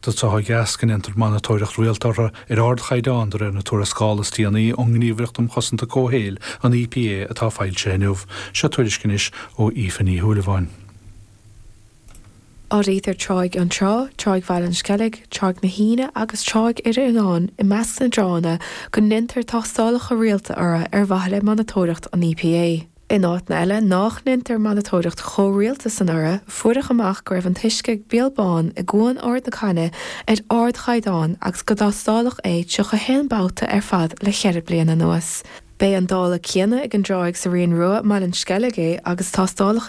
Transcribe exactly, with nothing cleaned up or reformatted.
Tá trátha gas go ndéantar monatóireacht rialta orthu ar ardchaighdeán de réir na tuarascála is déanaí ón nGníomhaireacht um Chosaint Comhshaoil an EPA atá foilsithe inniu, seo tuairisc anois ó Aoife Ní Shúilleabháin. Áirítear Tráigh an Trá, Tráigh Bhaile an Sceilg, Tráigh na hAoine agus Tráigh Idir Oileáin i measc na dtránna go ndéantar tástálacha rialta orthu ar mhaithe le monatóireacht an EPA. In áiteanna eile nach ndéantar monatóireacht chomh rialta san orthu, fuaireadh amach go raibh an t-uisce ag Béal Bán i gCuan Ard na Cainne ar ardchaighdeán agus gur tástáladh é tríocha haon babhta ar fad le ceithre bliana anuas. B'é an dála céanna ag an dtráigh sa Rian Rua Baile an Sceilg é agus tástálacha